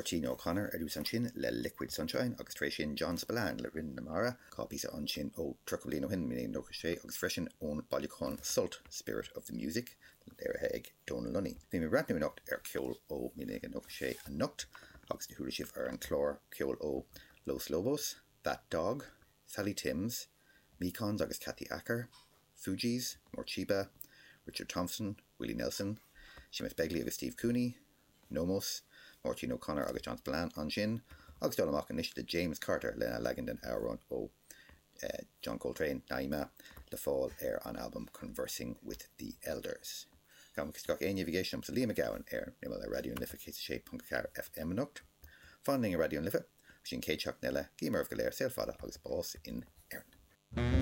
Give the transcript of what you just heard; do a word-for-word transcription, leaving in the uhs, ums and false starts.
Máirtín O'Connor ar dtús ansin le Liquid Sunshine agus tar éis sin John Spillane le Rinn na Mara, dhá phíosa ansin ó tríocha bliain ó shin naoi déag nócha sé agus freisin ón bailiúchán Sult Spirit of the Music léirithe ag Donal Lunny. Bhí mé ag breathnú anocht ar ceol ó naoi déag nócha sé anocht agus chuala sibh ar an chlár ceol ó Los Lobos, That Dog, Sally Timms, Mekons agus Kathy Acker, Fugees, Morcheeba, Richard Thompson, Willie Nelson, Seamus Begley agus Steve Cooney, Nomos, Máirtín O'Connor agus John Spillane ansin, agus dul amach anois le James Carter lena leagan den amhrán ó uh, John Coltrane Naima le fáil ar an album Conversing with the Elders. Gabhaim gach éinne a bhí ag éisteacht liomsa Liam Mac Gabhann ar imeall ar Raidió na Life céad sé ponc ceathair FM anocht. Fan linn ar Raidió na Life, sin céad seachtain eile, guím oraibh go léir saol fada agus bás in Éirinn.